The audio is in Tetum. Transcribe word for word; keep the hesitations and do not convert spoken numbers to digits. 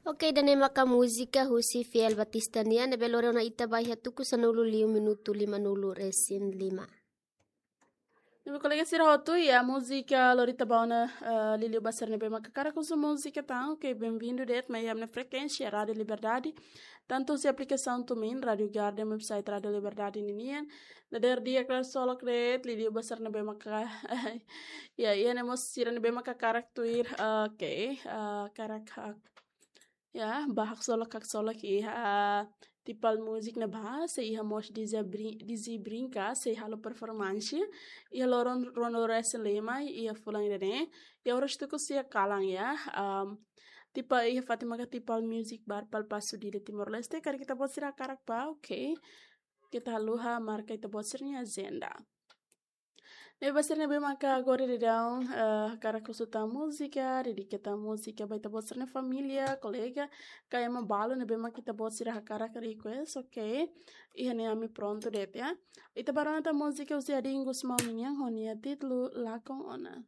Ok, ida-ne'e maka múzika husi Fiel Batista nian, ne'ebé lori ona ita ba iha tuku sanulu liu minutu limanulu resin lima. Ne'ebé kolega sira hotu, iha múzika lori ita ba ona, eh, liuliu ba sira ne'ebé maka hakarak husu múzika tan, ok, bem-vindo de'it mai iha ami-nia frekuénsia Rádio Liberdade, tantu husi aplikasaun TuneIn, Rádio Garden, website Rádio Liberdade ninian. Dadeer di'ak, klaru, solok de'it, liuliu ba sira ne'ebé maka, ya, iha ne'e mós sira ne'ebé maka hakarak tuir, eh, ok, eh, hakarak, eh, ya, ba haksolok, haksolok iha, ah, Tipal Music ne'ebá, sei iha mós Dizzy Brin-, Dizzy Brinca, sei halo performance iha loron ruanulu resin lima iha fulan ida-ne'e, iha oras tuku sia kalan ya. Am, Tipal iha fatin maka Tipal Music Bar, Pal Paso Dili, Timor-Leste, karik ita-boot sira hakarak bá, ok. Keta haluha marka ita-boot sira-nia ajenda. Ne'ebé ba sira ne'ebé maka agora daudaun, eh, hakarak husu tan múzika, dedika tan múzika ba ita-boot sira-nia família, kolega, ka ema balu ne'ebé maka ita-boot sira hakarak request, ok. Iha ne'e ami prontu de'it ya. Ita bá rona tan múzika husi Adin Gusmão nian, ho nia títulu Lakon Ona.